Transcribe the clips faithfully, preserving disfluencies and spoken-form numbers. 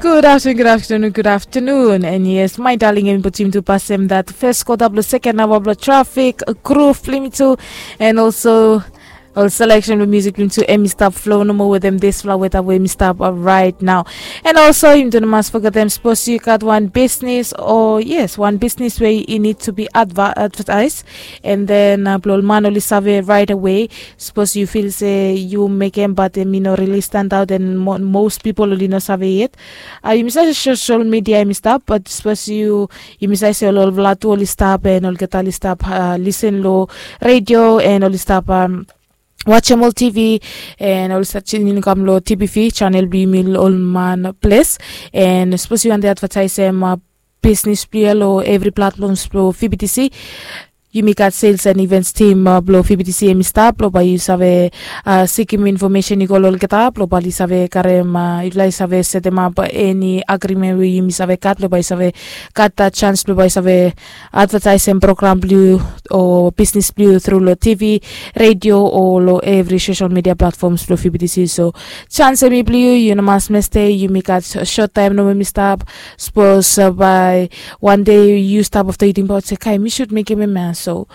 Good afternoon, good afternoon, good afternoon. And yes, my darling, em putim tu pasem that first quarter blo second hour blo traffic, groove, limit tu, and also ol selection blo music blo tu em i stap flow nomo wetem dispela weta we em i stap uh, right now. And also, you don't must forget them, suppose you got one business, or yes, one business where you need to be adver- advertised, and then uh, blo man oli save right away. Suppose you feel say you make em but em you know really stand out and mo- most people oli no save yet. Uh, you miss social media em i stap, but suppose you you miss say ol olfala tu oli stap and olgeta oli stap uh, listen lo radio and oli stap um, watch em ol T V and oli stap tuning kam lo T V channel blo yumi ol man place. And suppose you want the advertise em uh, business blo lo every platforms blo V B T C. Yumi gat sales and events team uh, blo V B T C em i stap blo bai yu save uh, sikim information i go lo olgeta blo bai yu save karem uh, yufala yu save setem ap any agreement we yumi save gat blo bai yu save gat that chance blo bai yu save advertising program blo yu o business blo yu through lo T V, radio o lo every social media platforms blo V B T C. So chance em i blo yu, yu no mas meste, yumi gat short time nomo em i stap. Suppose uh, by one day you stop after you think about say, kai, mi should make him a man. So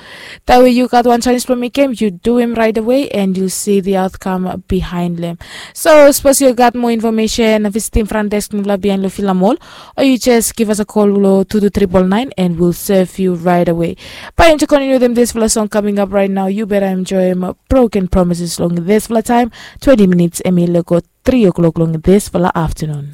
that way you got one chance to make him, you do him right away and you see the outcome behind them. So suppose you got more information, visit him front desk nula behind lo Filamol, or you just give us a call lo two two triple nine and we'll serve you right away. But to continue them this for a song coming up right now, you better enjoy him broken promises long this for a time, twenty minutes, Emil go three o'clock long this for the afternoon.